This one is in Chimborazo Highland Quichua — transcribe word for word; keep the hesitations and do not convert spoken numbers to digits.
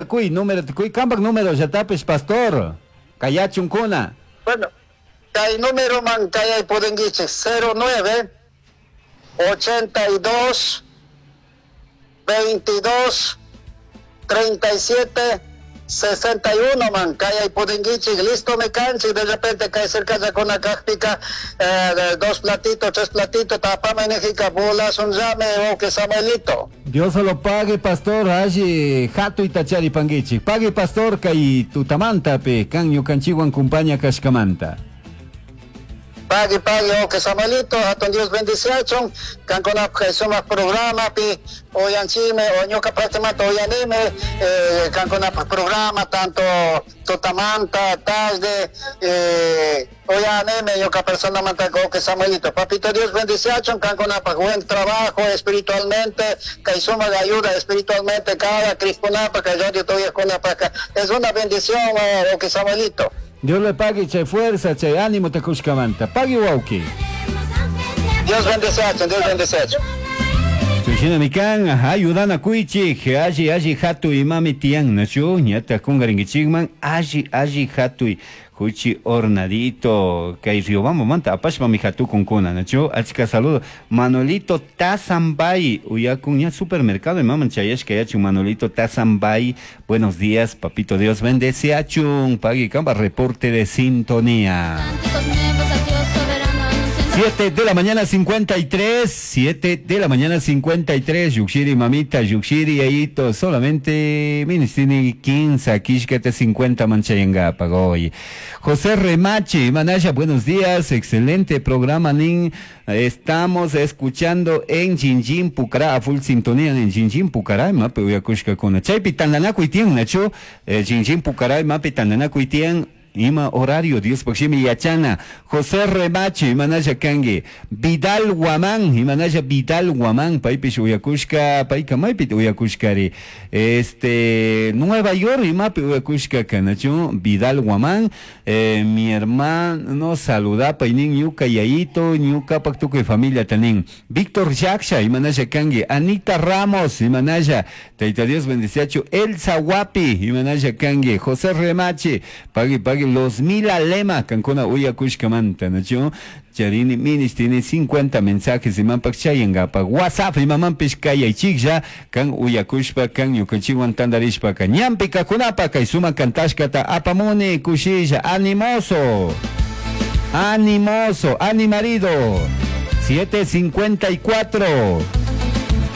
Kui, número kui, kampak número yatapis pastor. Kayachunkuna. Bueno, kay número man kayay pudinkichik cero nueve ochenta y dos veintidós treinta y siete sesenta y uno man kayay pudinkichik, listo me canchi, de repente kay cerca ya con la cajpica, eh, dos platitos, tres platitos, tapame nejika, bolas un llame o que Samuelito. Dios se lo pague, pastor, allí jato y tachari panguichik. Pague, pastor, kay tutamanta pe, kan ñukanchiwan kumpaña kashkamanta. Pague, pague, o que Samuelito, hatun Dios bendiciachon, kan con la que somos programa, pi, oyanchime, o ñuka prácticamente oyanime, eh, kan con la programa, tanto tutamanta, tarde, eh, oyanime, ñuka persona manta, o que Samuelito. Papito Dios bendiciachon, kan con la buen trabajo espiritualmente, que suma de ayuda espiritualmente, cada crisponapa, que yo estoy con la paca. Es una bendición, o que Samuelito. Dios le pague, che fuerza, che ánimo te cuscamanta. Pague, wauki. Dios bendice, Dios bendice. Chushina mikan, ayudana kuichi, alli alli hatu imami tian, nachu, ñata kungaringichigman, alli alli hatui, huchi hornadito, kay Riobamba manta, apashpa mi hatu kunkuna, nachu, achka saludo, Manolito Tazambay, uyakun ña supermercado, imaman chayashka yachu, Manolito Tazambay, buenos días, papito Dios bendece achun, pagui kamba, reporte de sintonía. siete de la mañana cincuenta y tres, siete de la mañana cincuenta y tres, Yuxiri mamita, Yuxiri ayito, solamente ministini quince, quishkete cincuenta manchayanga pagoy. José Remache, Manaya, buenos días, excelente programa, nin, estamos escuchando en Jinjin Pucará, a full sintonía en Jinjin Pucará, mape uyakushka kuna. Chaypi tandanakuy tiyan, nacho, eh, Jinjin Pucará, mape tandanakuy tiyan, ima horario, Dios pakshimi yachana. José Remache, imanaya kangi. Vidal Guamán, imanaya Vidal Guamán, paypish uyakushka, payka maypit uyakushkari. Este, Nueva York, imapi uyakushka kanachu, Vidal Guamán, eh, mi hermano saluda, paynin ñuka yayito, ñuka paktuku familia tanin. Víctor Yaksha, imanaya kangi. Anita Ramos, imanaya, Taita Dios bendiciachu. Elsa Guapi, imanaya kangi. José Remache, pagui, pagui, los mil alema, cancuna uyakushkamanta, nacho? Charini minis tiene cincuenta mensajes y mampak chayangapa WhatsApp y mamampish kayaychiklla kan uyakushpa kan ñukanchikwan tandarishpa kan ñampi kakunapa kay suma kantashkata apamuni kushilla animoso animoso animarido siete cincuenta y cuatro.